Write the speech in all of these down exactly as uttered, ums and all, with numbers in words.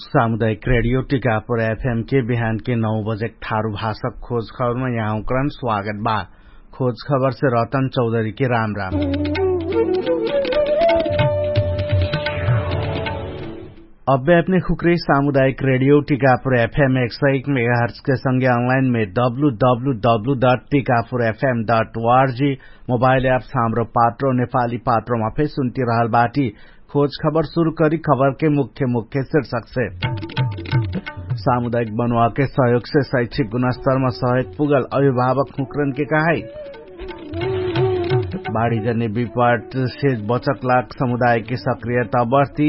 सामुदायिक रेडियो टिकापुर एफएम के बिहान के नौ बजे ठारु भाषक खोज खबरमा यहाँ उक्रान स्वागत बा। खोज खबर से रतन चौधरी के राम राम। अब्बे अपने खुक्रे सामुदायिक रेडियो टिकापुर एफएम एक सय एक मेगाहर्च के संगे अनलाइन में W W W dot Tikapur FM dot ORG mobile apps Hamro Patro नेपाली पात्रोमा फेर सुन्ति रहल बाटी। खोज खबर सुरु करी खबरके मुख्य मुख्य शिर्षकसे। सामुदायिक बनुवाके सहयोगसे शैक्षिक गुणस्तरमा सहयोग पुगल अभिभावक हुँक्रनके कहाई। बाढीजन्य विपटसे बचक लाग समुदायके सक्रियता बढ्ती।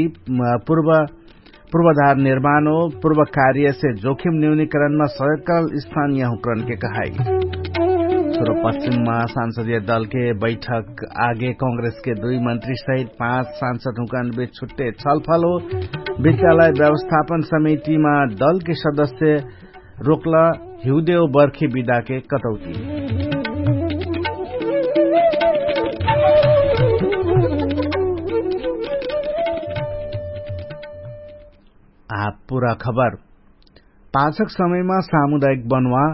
पूर्वाधार निर्माण हो पूर्व कार्यसे जोखिम न्यूनिकरणमा सहयोग करल स्थानिय हुँक्रनके कहाई। सुरु पश्चिममा सांसदिय दलके बैठक आगे कांग्रेसके दुई मन्त्री सहित पाँच सांसद हुँकन बिच छुट्टे छलफल हो। विद्यालय व्यवस्थापन समितिमा दलके सदस्य रोक्ल हिउदेउ बर्खी बिदाके कटौती। आ पुरा खबर। पाछक समयमा सामुदायिक बनुवा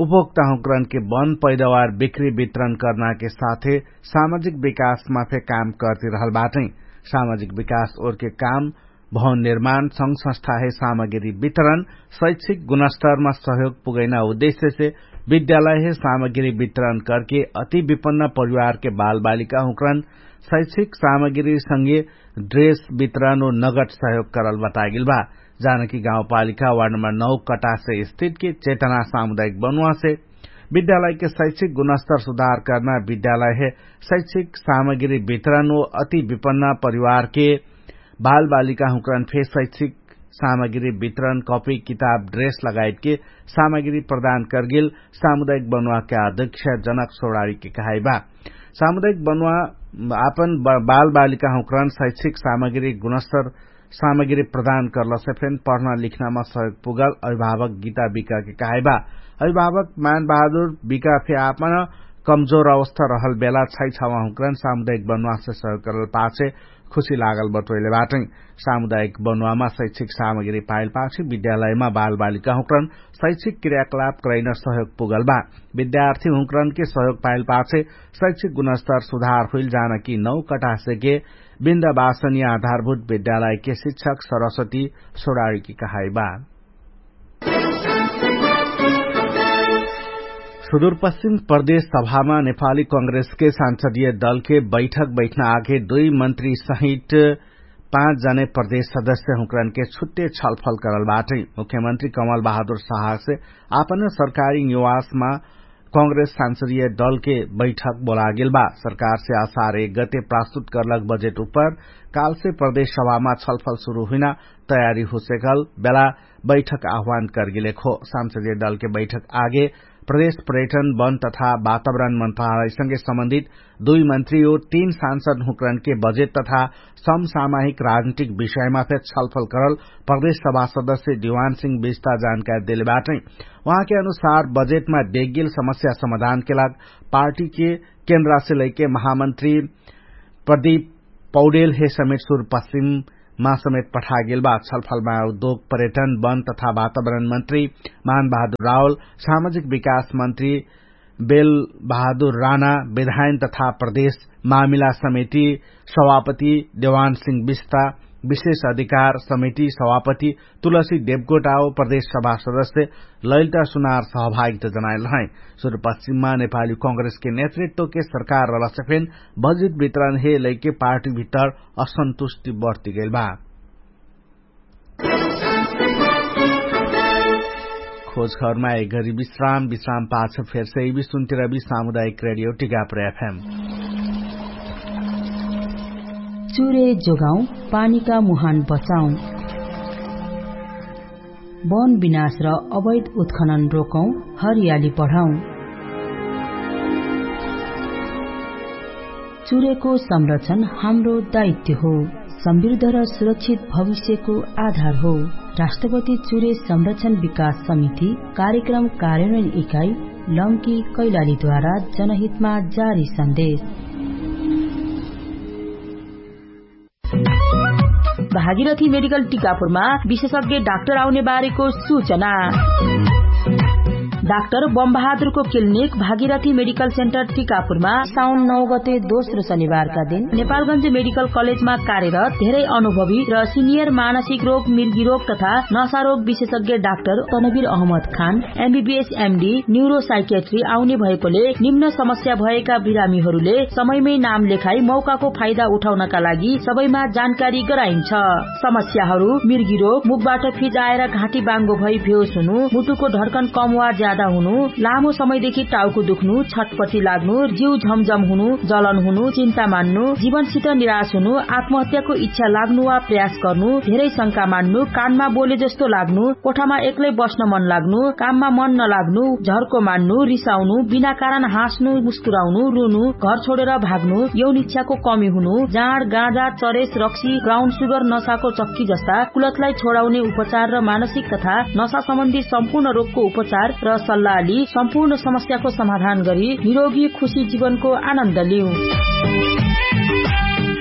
उपभोक्ताहुँकरणके बन पैदावार बिक्री वितरण कर्नाके साथे सामाजिक विकासमा फे काम कर्तिरहल बाटै। सामाजिक विकास ओरके काम भवन निर्माण संघ संस्थाहे सामग्री वितरण शैक्षिक गुणस्तरमा सहयोग पुगैना उद्देश्यसे विद्यालयहे सामग्री वितरण करके अति विपन्न परिवारके बालबालिका हुँकरण शैक्षिक सामग्री संगे ड्रेस वितरण ओ नगद सहयोग करल बतागेल बा। जानकी गाउँपालिका वार्ड नम्बर नौ कटासे स्थितके चेतना सामुदायिक बनुवासे विद्यालयके शैक्षिक गुणस्तर सुधार कर्ना विद्यालयहे शैक्षिक सामग्री वितरण ओ अति विपन्न परिवारके बालबालिका हुँकरण फे शैक्षिक सामग्री वितरण कपी किताब ड्रेस लगायतके सामग्री प्रदान कर्गेल सामुदायिक बनुवाके अध्यक्ष जनक सोडारीके कहाइबा। सामुदायिक बनुवा आपन बालबालिका हुँकरण शैक्षिक सामग्री गुणस्तर सामग्री प्रदान कर्लसे फेन पढ्ना लिख्नामा सहयोग पुगल अभिभावक गीता बिकाके कहाइबा। अभिभावक मानबहादुर बिका फे आपन कमजोर अवस्था रहल बेला छैछावा हुँकरण सामुदायिक बनुवासे सहयोग करल पाछे खुशी लागल बटोइले बाटै। सामुदायिक बनुवामा शैक्षिक सामग्री पाइल पाछे विद्यालयमा बालबालिका हुँकरण शैक्षिक क्रियाकलाप करैन सहयोग पुगल बा। विद्यार्थी हुँकरणके सहयोग पाइल पाछे शैक्षिक गुणस्तर सुधार हुइल जानकी नौ कटासेके बिन्द बासनिया आधारभूत विद्यालयके शिक्षक सरस्वती सोडारीके कहाइबा। सुदुरपश्चिम प्रदेश सभामा नेपाली कांग्रेसके सांसदीय दलके बैठक बैठना आगे दुई मन्त्री सहित पाँच जने प्रदेश सदस्य हुँकरणके छुट्टे छलफल करल बाटै। मुख्यमन्त्री कमल बहादुर साहसे आपन सरकारी निवासमा कांग्रेस सांसदीय दलके बैठक बोलागेल बा। सरकारसे असार एक गते प्रस्तुत करलक बजेट उपर कालसे प्रदेश सभामा छलफल सुरु हुइना तयारी हुसेकल बेला बैठक आह्वान करगेलेक हो। सांसदीय दलके बैठक आगे प्रदेश पर्यटन वन तथा वातावरण मन्त्रालयसँगे सम्बन्धित दुई मन्त्री ओ तीन सांसद हुँकरणके बजेट तथा समसामाहिक राजनीतिक विषयमा फेर छलफल करल प्रदेश सभा सदस्य दिवान सिंह बिस्ता जानकारी देले बाटै। उहाँके अनुसार बजेटमा देगिल समस्या समाधानके लाग पार्टीके केन्द्रासे लैके महामन्त्री प्रदीप पौडेलहे समेत सुरपश्चिममा समेत पठागेल बा। छलफलमा उद्योग पर्यटन वन तथा वातावरण मन्त्री मानबहादुर रावल, सामाजिक विकास मन्त्री बेलबहादुर राणा, विधायन तथा प्रदेश मामिला समिति सभापति देवान सिंह बिस्ता, विशेष अधिकार समिति सभापति तुलसी देवकोटाओ प्रदेश सभा सदस्य लैलता सुनार सहभागिता जनाइल रहै। सुरुपश्चिममा नेपाली कांग्रेसके नेतृत्वके सरकार रहलसे फेन बजेट वितरण हे लैके पार्टी भित्तर असन्तुष्टि बढ्तिगेल बा। खोज खबरमा एक घरी विश्राम विश्राम पाछ फेरसे इबी सुन्तिरबी सामुदायिक रेडियो टिकापुर एफएम। चुरे जोगाउँ, पानीका मुहान बचाउँ। वन विनाश र अवैध उत्खनन रोकौँ, हरियाली बढाउँ। चुरेको संरक्षण हाम्रो दायित्व हो, समृद्ध र सुरक्षित भविष्यको आधार हो। राष्ट्रपति चुरे संरक्षण विकास समिति, कार्यक्रम कार्यान्वयन इकाइ, लम्की कैलालीद्वारा जनहितमा जारी सन्देश। भागीरथी मेडिकल टिकापुरमा विशेषज्ञ डाक्टर आउने बारेको सूचना। डाक्टर बमबहादुरको क्लिनिक भागीरथी मेडिकल सेन्टर टिकापुरमा साउन नौ गते दोस्रो शनिबारका दिन नेपालगञ्ज मेडिकल कलेजमा कार्यरत धेरै अनुभवी र सिनियर मानसिक रोग मिर्गी रोग तथा नशा रोग विशेषज्ञ डाक्टर तनवीर अहमद खान एमबीबीएस एमडी न्युरोसाइकेट्री आउने भएकोले निम्न समस्या भएका बिरामीहरूले समयमै नाम लेखाई मौकाको फाइदा उठाउनका लागि सबैमा जानकारी गराइन्छ। समस्याहरू मिर्गी रोग, मुखबाट फिजाएर घाँटी बाङ्गो भई भेउस हुनु, मुटुको ढर्कन कम वा ज्यादा हुनु, लामो समयदेखि टाउको दुख्नु, छटपटी लाग्नु, जिउ झमझम हुनु, जलन हुनु, चिन्ता मान्नु, जीवनसित निराश हुनु, आत्महत्याको इच्छा लाग्नु वा प्रयास गर्नु, धेरै शंका मान्नु, कानमा बोले जस्तो लाग्नु, कोठामा एक्लै बस्न मन लाग्नु, काममा मन नलाग्नु, झर्को मान्नु, रिसाउनु, बिना कारण हाँस्नु, मुस्कुराउनु, रुनु, घर छोडेर भाग्नु, यौन इच्छाको कमी हुनु, जाँड, गाँजा, चरेस, रक्सी, ब्राउन सुगर, नशाको चक्की जस्ता कुलतलाई छोडाउने उपचार र मानसिक तथा नशा सम्बन्धी सम्पूर्ण रोगको उपचार र सल्लाह लि सम्पूर्ण समस्याको समाधान गरी निरोगी खुशी जीवनको आनन्द लिउ।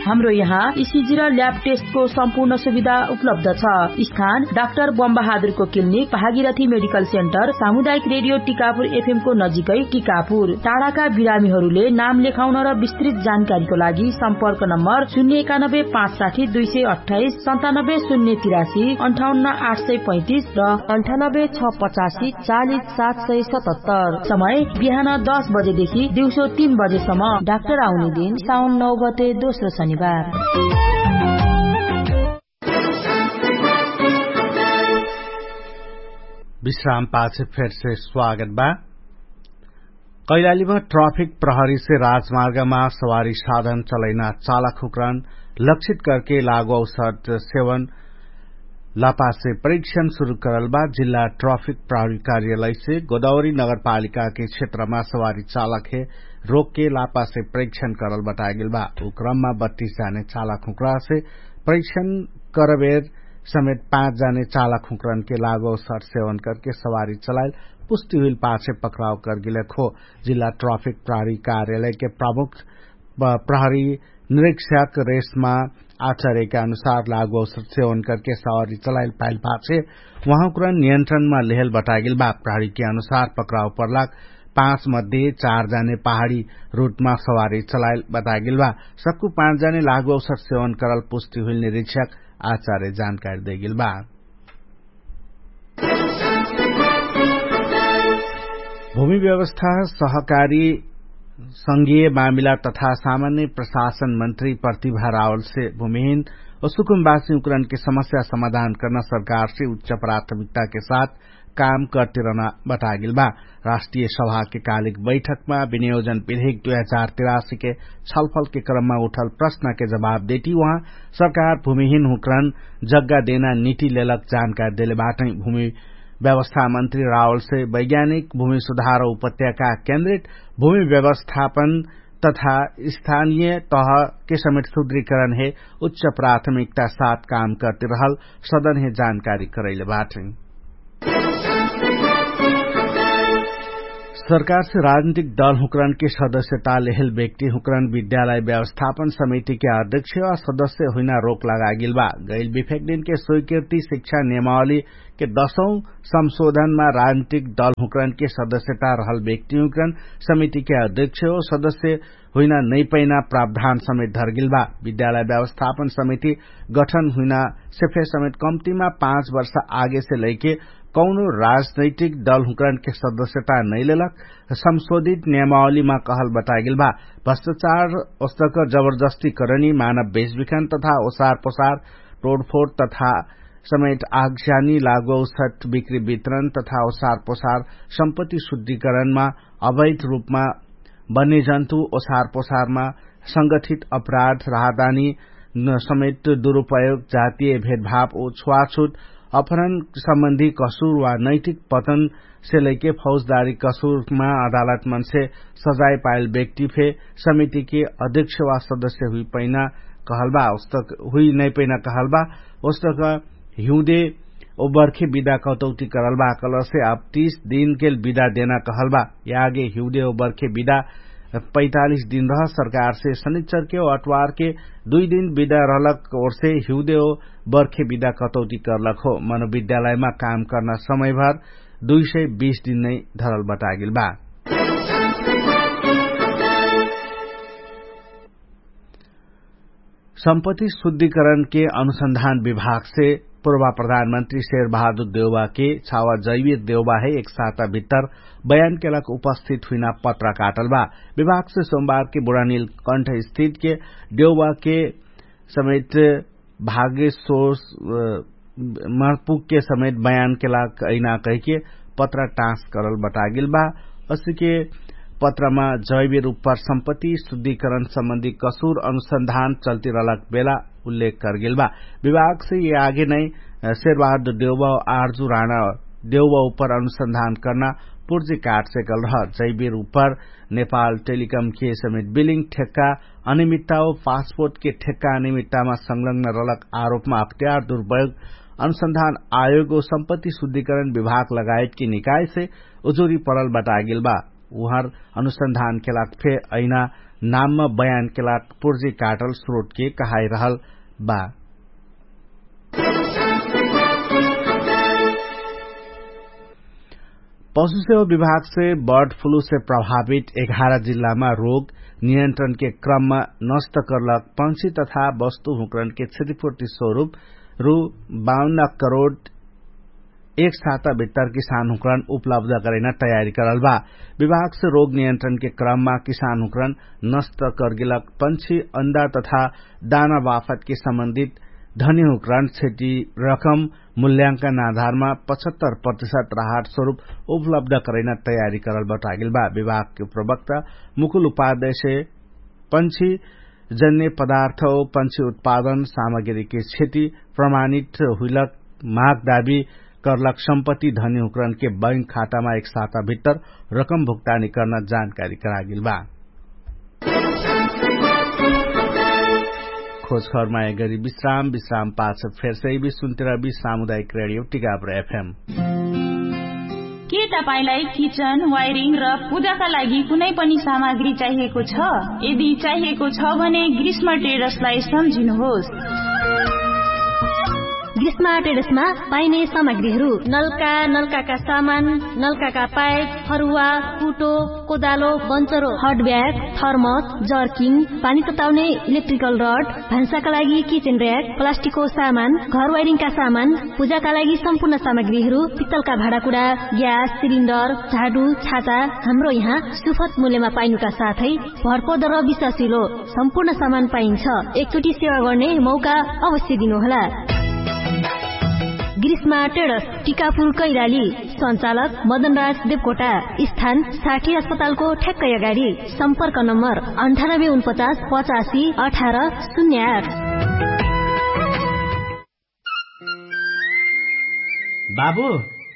हाम्रो यहाँ इसिजी र ल्याब टेस्टको सम्पूर्ण सुविधा उपलब्ध छ। स्थान डाक्टर बमबहादुरको क्लिनिक भागीरथी मेडिकल सेन्टर सामुदायिक रेडियो टिकापुर एफएमको नजिकै टिकापुर। टाढाका बिरामीहरूले नाम लेखाउन र विस्तृत जानकारीको लागि सम्पर्क नम्बर शून्य एकानब्बे पाँच साठी दुई सय अठाइस सन्तानब्बे शून्य तिरासी अन्ठाउन्न आठ सय पैँतिस र अन्ठानब्बे छ पचासी चालिस सात सय सतहत्तर। समय बिहान दस बजेदेखि दिउँसो तीन बजेसम्म। डाक्टर आउने दिन साउन नौ गते दोस्रो शनिबार। विश्राम पाछे फेरसे स्वागत बा। कैलालीमा ट्राफिक प्रहरीसे राजमार्गमा सवारी साधन चलैना चालक हुक्रन लक्षित करके लागु औसर सेवन लापासे परीक्षण सुरु करल बा। जिल्ला ट्राफिक प्रहरी कार्यालयसे गोदावरी नगरपालिकाके क्षेत्रमा सवारी चालकहे रोकके लापासे परीक्षण करल बताएगेल बा। उ क्रममा बत्तीस जाने चालक हुक्रसे परीक्षण करबेर समेत पाँच जाने चालक हुक्रनके लागु औसर सेवन करके सवारी चलाइल पुष्टि हुइल पाछे पक्राउ करगेल खो। जिल्ला ट्राफिक प्रहरी कार्यालयके प्रमुख प्रहरी निरीक्षक रेशमा आचार्यका अनुसार लागु औसर सेवन करके सवारी चलाइल पाइल पाछे उहाँकुरा नियन्त्रणमा लेहल बतागेल बा। प्रहरीके अनुसार पक्राउ पर्लाक पाँच मध्ये चार जाने पहाडी रुटमा सवारी चलाइल बतागेल बा। सक्कु पाँच जाने लागु औसर सेवन करल पुष्टि हुइल निरीक्षक आचार्य जानकारी देगेल बा। भूमि व्यवस्था सहकारी संघीय मामिला तथा सामान्य प्रशासन मन्त्री प्रतिभा रावलसे भूमिहीन ओ सुकुम्बासी उकरणके समस्या समाधान कर्ना सरकारसे उच्च प्राथमिकताके साथ काम कर्तिरहना बतागेल बा। राष्ट्रिय सभाके कालिक बैठकमा विनियोजन विधेक दुई हजार तिरासीके छलफलके क्रममा उठल प्रश्नके जवाब देती उहाँ सरकार भूमिहीन हुकरण जग्गा देना निति लेलक जानकारी देले बाटै। भूमि व्यवस्था मन्त्री रावलसे वैज्ञानिक भूमि सुधार उपत्यका केन्द्रित भूमि व्यवस्थापन तथा स्थानिय तहके समेट सुद्रीकरण हे उच्च प्राथमिकता साथ काम कर्तिरहल सदन हे जानकारी करैले बाटै। सरकारसे राजनितिक दल हुकरणके सदस्यता लेहेल व्यक्ति हुकरण विद्यालय व्यवस्थापन समितिके अध्यक्ष वा सदस्य हुइना रोक लगागेल बा। गैल विफेक दिनके स्वीकृति शिक्षा नियमावलीके दशौं संशोधनमा राजनितिक दल हुकरणके सदस्यता रहल व्यक्ति हुकरण समितिके अध्यक्ष हो सदस्य हुइना नैपैना प्रावधान समेत धरगेल बा। विद्यालय व्यवस्थापन समिति गठन हुइना सेफे समेत कम्तिमा पाँच वर्ष आगेसे लैके कौनो राजनैतिक दल हुकरणके सदस्यता नैलेलक संशोधित नियमावलीमा कहल बतागेल बा। भ्रष्टाचार ओस्तक जबरजस्ती करणी मानव बेचबिखन तथा ओसार पोसार तोडफोड तथा समेत आगस्यानी लागौसट बिक्री वितरण तथा ओसार पोसार सम्पत्ति शुद्धिकरणमा अवैध रूपमा बन्यजन्तु ओसार पोसारमा संगठित अपराध राहदानी समेत दुरुपयोग जातीय भेदभाव ओ छुवाछुट अपहरण सम्बन्धी कसुर वा नैतिक पतन से लैके फौजदारी कसुरमा अदालत मनसे सजाय पायल व्यक्ति फे समितिके अध्यक्ष वा सदस्य हुइ पैना कहलबा। हुइ नै पैना कहलबा। ओस्तक हिउँदे ओ बर्खे बिदा कटौती करलबा कलसे अब तीस दिनके बिदा देना कहलबा। यागे हिउँदे ओ बर्खे बिदा पैतालिस दिन रह सरकारसे शनिचरके अटवारके दुइ दिन बिदा रहलक ओरसे हिउदेओ बर्खे बिदा कटौती करलक हो। मनोविद्यालयमा काम कर्ना समयभर दुइ सय बीस दिन नै धरल बटागेल बा। सम्पत्ति शुद्धिकरणके अनुसन्धान विभागसे पूर्वा प्रधानमन्त्री शेर बहादुर देउवाके छावा जैवीर देउवा है एक साता भित्तर बयानके लाग उपस्थित हुइना पत्रा काटल बा। विभागसे सोमबारके बुढानिल कण्ठ स्थितके देउवाके समेत भाग्य सोस महत्वपुगके समेत बयानके लाग अइना कहिके पत्रा टाँस करल बटागेल बा। असिके पत्रमा जैवीर उप्पर सम्पत्ति शुद्धिकरण सम्बन्धी कसुर अनुसन्धान चल्तिरहलक बेला उल्लेख करगेल बा। विभागसे यि आगे नै शेरबहादुर देउवा आर्जु राणा देउवा उप्पर अनुसन्धान कर्ना पुर्जी काटसे गलरह जैवीर उप्पर नेपाल टेलिकमके समेत बिलिङ ठेक्का अनिमित्ता ओ पासपोर्टके ठेक्का अनिमित्तामा संलग्न रहलक आरोपमा अख्तियार दुरुपयोग अनुसन्धान आयोग ओ सम्पत्ति शुद्धिकरण विभाग लगायतके निकायसे उजुरी परल बटागेल बा। उहर अनुसन्धानके लाग फे अइना नाममा बयानके लाग पुर्जी काटल स्रोटके कहाइरहल बा। पशुसेवा विभागसे बर्ड फ्लूसे प्रभावित एघार जिल्लामा रोग नियन्त्रणके क्रममा नष्ट कर्लक पंक्षी तथा वस्तु हुँकरणके क्षतिपूर्ति स्वरूप रु बाउन्न करोड एक साता भित्तर किसान हुँकरण उपलब्ध करैना तयारी करल बा। विभागसे रोग नियन्त्रणके क्रममा किसान हुँकरण नष्ट कर्गेलक पंक्षी अन्दा तथा दाना वाफतके सम्बन्धित धनी हुँकरण क्षति रकम मूल्यांकन आधारमा पचहत्तर प्रतिशत राहत स्वरूप उपलब्ध करैना तयारी करल बटागेल बा। विभागके प्रवक्ता मुकुल उपाध्यक्ष पंक्षी जन्य पदार्थ ओ पंक्षी उत्पादन सामग्रीके क्षति प्रमाणित हुइलक माग दाबी कर्लक सम्पत्ति धनी हुँकरणके बैंक खातामा एक साता भित्तर रकम भुक्तानी कर्ना जानकारी करागेल बा। खोजखबरमा एगरी विश्राम विश्राम पाछ फेरसै बि सुन्तिरा बि सामुदायिक रेडियो टिकापुर एफएम। के तपाईंलाई किचन वायरिङ र पूजाका लागि कुनै पनि सामग्री चाहिएको छ? यदि चाहिएको छ भने ग्रीष्म ट्रेडर्सलाई सम्झिनुहोस्। ग्रीष्म ट्रेडर्समा पाइने सामग्रीहरू नलका नलकाका सामान, नलकाका पाइप, फरुवा, कुटो, कोदालो, बन्चरो, हट ब्याग, थर्मस, जर्किङ, पानी तताउने इलेक्ट्रिकल रड, भान्साका लागि किचेन र्याक, प्लास्टिकको सामान, घर वाइरिङका सामान, पूजाका लागि सम्पूर्ण सामग्रीहरू, पित्तलका भाँडाकुडा, ग्यास सिलिन्डर, झाडु, छाता, हाम्रो यहाँ सुफत मूल्यमा पाइनुका साथै भरपर्दो र विश्वासिलो सम्पूर्ण सामान पाइन्छ। एकचोटि सेवा गर्ने मौका अवश्य दिनुहोला। ग्रीष्मा ट्रेडर्स, टिकापुर कैलाली, सञ्चालक मदनराज देवकोटा, स्थान साठी अस्पतालको ठ्याक्कै अगाडि। सम्पर्क नम्बर अन्ठानब्बे उनपचास पचासी अठार शून्य आठ। बाबु,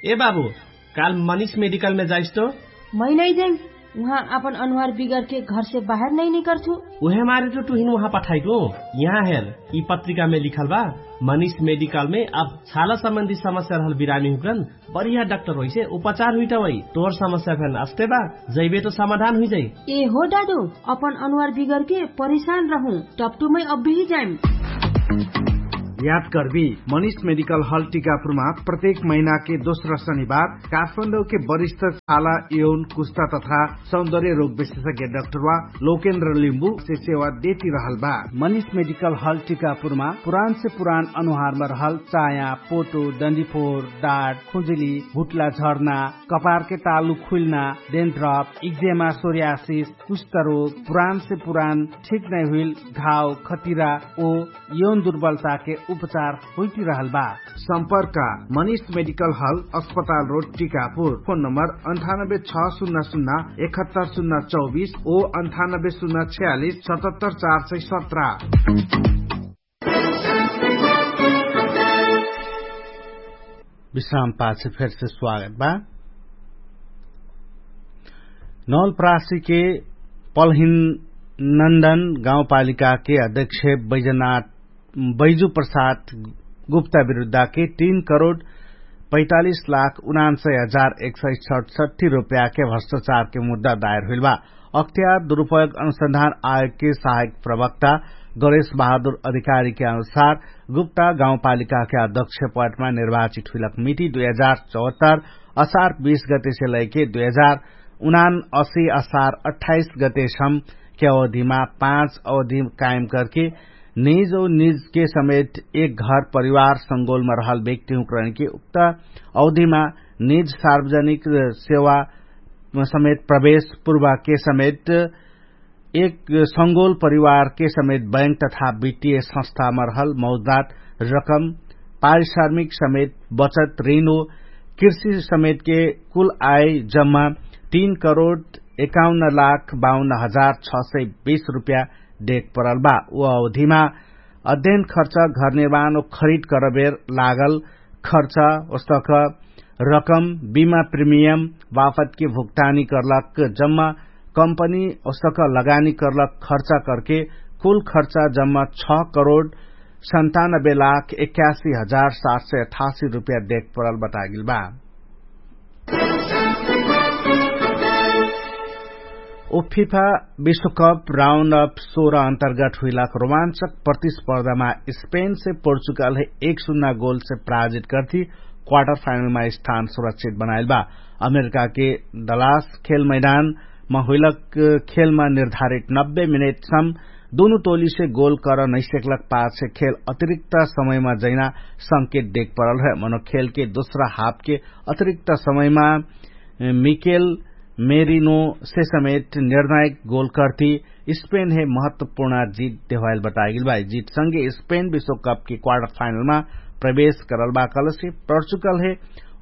ए बाबु, काल मनिष मेडिकलमे जाइस तो? मै नै जाइम। उहाँ आपन अनुहार बिगरके घरसे बाहेर नै निकर्छु। उहे मारे तो तुहिन उहाँ पठाइटु। यहाँ हेर, यि पत्रिकामे लिखल बा, मनिष मेडिकलमे अब छाला सम्बन्धी समस्या रहल बिरामी हुकन बढिया डाक्टर होइसे उपचार हुइटा वै। तोर समस्या फेन अस्ते बा, जैबे तो समाधान हुइजाइ। ए हो दादु, अपन अनुहार बिगरके परिशान रहु, टपटुमै अब्बिही जाइम। याद कर्बी, मनिष मेडिकल हल टिकापुरमा प्रत्येक महिनाके दोस्रा शनिबार काठमाडौके वरिष्ठ छाला यौन कुस्ता तथा सौन्दर्य रोग विशेषज्ञ डाक्टरवा लोकेन्द्र लिम्बुसे सेवा देति रहल बा। मनिष मेडिकल हल टिकापुरमा पुरानसे पुरान अनुहारमा रहल चाया, पोटो, डन्डीफोर, डाट, खुजुली, भुट्ला झर्ना, कपारके तालु खुइल्ना, डेन्ड्रप, इक्जेमा, सोर्यासिस, कुष्ठरोग, पुरानसे पुरान ठिक नै हुइल घाव, खतिरा ओ यौन दुर्बलताके उपचार हुइटिरहल बा। सम्पर्क, मनिष मेडिकल हल, अस्पताल रोड, टिकापुर। फोन नम्बर अन्ठानब्बे छ सुन्ना सुन्ना एकहत्तर सुन्ना चौबिस ओ अन्ठानब्बे सुन्ना छ्यालिस सतहत्तर चार सय सत्र। विश्राम पाछ फेरसे स्वागत बा। नौलप्रासीके पलहिन नन्दन गाउँपालिकाके अध्यक्ष बैजनाथ बैजु प्रसाद गुप्ता विरुद्धाके तीन करोड पैतालिस लाख उनान्सय हजार एक सय सठसट्ठी रोप्याके भ्रष्टाचारके मुद्दा दायर हुइल बा। अख्तियार दुरुपयोग अनुसन्धान आयोगके सहायक प्रवक्ता गणेश बहादुर अधिकारीके अनुसार गुप्ता गाउँपालिकाके अध्यक्ष पटमा निर्वाचित हुइलक मिति दुई हजार चौहत्तर असार बीस गतेसे लैके दुई हजार उनान असी असार अट्ठाइस गतेसम के अवधिमा पाँच अवधि कायम करके निज औ निजके समेत एक घर परिवार संगोलमा रहल व्यक्तिहुँकरणके उक्त अवधिमा निज सार्वजनिक सेवा समेत प्रवेश पूर्वके समेत एक संगोल परिवारके समेत बैंक तथा वित्तीय संस्थामा रहल मौजदात रकम पारिश्रमिक समेत बचत ऋण हो कृषि समेतके कुल आय जम्मा तीन करोड एकाउन्न लाख बाउन्न हजार छ सय बीस रुपया देख परल बा। उ अवधिमा अध्ययन खर्च घर निर्माण खरिद करबेर लागल खर्च ओस्तक रकम बिमा प्रिमियम बाफतके भुक्तानी करलक जम्मा कम्पनी ओस्तक लगानी करलक खर्च करके कुल खर्च जम्मा छ करोड सन्तानब्बे लाख एक्यासी हजार सात सय अठासी रुपया देख परल बतागिल बा। उफिफा विश्वकप राउन्ड अफ सोह्र अन्तर्गत हुइलाक रोमान्चक प्रतिस्पर्धामा स्पेनसे पोर्चुगलहे एक सुन्ना गोलसे पराजित गर्ति क्वार्टर फाइनलमा स्थान सुरक्षित बनाइल बा। अमेरिकाके दलास खेल मैदानमा हुइलक खेलमा निर्धारित नब्बे मिनेटसम दुनु टोलीसे गोल कर नैसेकलक पाछे खेल अतिरिक्त समयमा जैना संकेत देख परल रहे मनो खेलके दोस्रा हाफके अतिरिक्त समयमा मिकेल मेरिनो से समेत निर्णायक गोल कर्ति स्पेन हे महत्वपूर्ण जित देवाइल बतागिल बा। जित संगे स्पेन विश्वकप के क्वार्टर फाइनल मा प्रवेश करल बा कलसे पोर्चुगल हे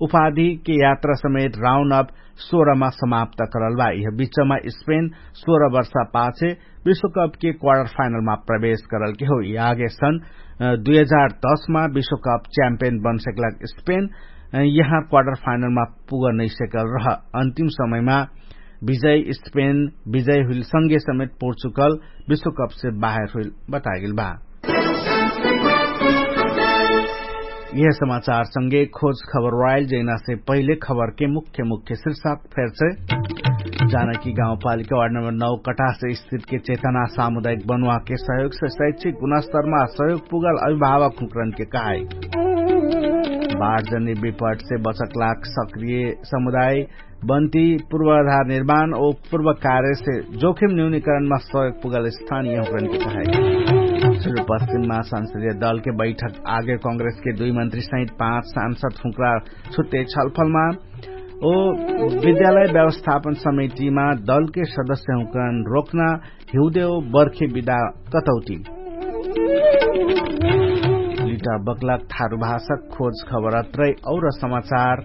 उपाधि के यात्रा समेत राउन्ड अफ सोह्र मा समाप्त करल बा। यह बिचमा स्पेन सोह्र वर्ष पाछे विश्वकप के क्वार्टर फाइनल मा प्रवेश करल के हो। यह आगे सन दुई हजार दस मा विश्वकप च्याम्पियन बन सकलक स्पेन यहाँ क्वार्टर फाइनल मा पुग नैसेकल रह। अन्तिम समय मा विजय स्पेन विजय हुइल संगे समेत पोर्चुगल विश्वकप से बाहेर हुइल बतागिल बा। यह समाचार संगे खोज खबर वाइल जैना से पहिले खबर के मुख्य मुख्य शीर्षक फेर से जाना कि गाउँपालिका वार्ड नम्बर नौ कटास स्थित के चेतना सामुदायिक बनुवा के सहयोग से शैक्षिक गुणस्तरमा सहयोग पुगल अभिभावक हुँकरन के कहाई। बाढ जन्य विपट से बचक लाग सक्रिय समुदाय बन्ती पूर्वाधार निर्माण ओ पूर्व कार्य से जोखिम न्यूनीकरणमा सहयोग पुगल स्थानीय हुँकरन के कहाई। सुरुपश्चिममा संसदीय दल के बैठक आगे कांग्रेस के दुई मन्त्री सहित पाँच सांसद हुँकरा छुट्टे छलफलमा ओ विद्यालय व्यवस्थापन समितिमा दल के सदस्य हुँकरन रोक्ना हिउदेउ बर्खे विदा कतौती। लिटा बक्लक थारु भाषक खोज खबर अत्रै और समाचार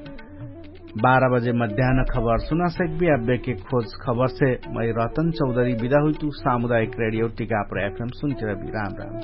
बाह्र बजे मध्यान खबर सुना सकबी। अब्बेके खोज खबर से मै रतन चौधरी विदा हुइतु। सामुदायिक रेडियो टिका प्रयाक्रम सुन्तिरबी राम राम।